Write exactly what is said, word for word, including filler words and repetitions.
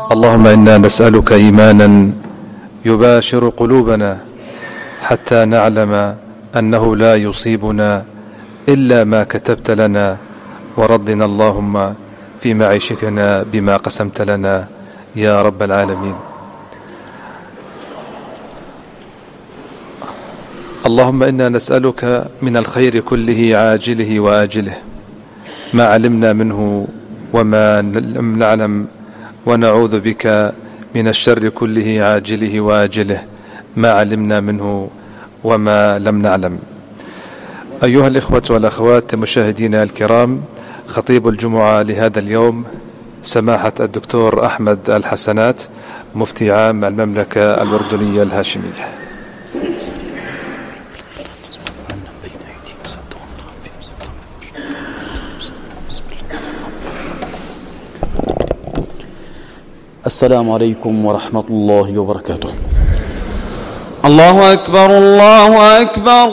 اللهم إنا نسألك إيمانا يباشر قلوبنا حتى نعلم أنه لا يصيبنا إلا ما كتبت لنا، وردنا اللهم في معيشتنا بما قسمت لنا يا رب العالمين. اللهم إنا نسألك من الخير كله عاجله وآجله ما علمنا منه وما لم نعلم، ونعوذ بك من الشر كله عاجله وآجله ما علمنا منه وما لم نعلم. أيها الإخوة والأخوات مشاهدينا الكرام، خطيب الجمعة لهذا اليوم سماحة الدكتور أحمد الحسنات، مفتي عام المملكة الأردنية الهاشمية. السلام عليكم ورحمة الله وبركاته. الله أكبر الله أكبر.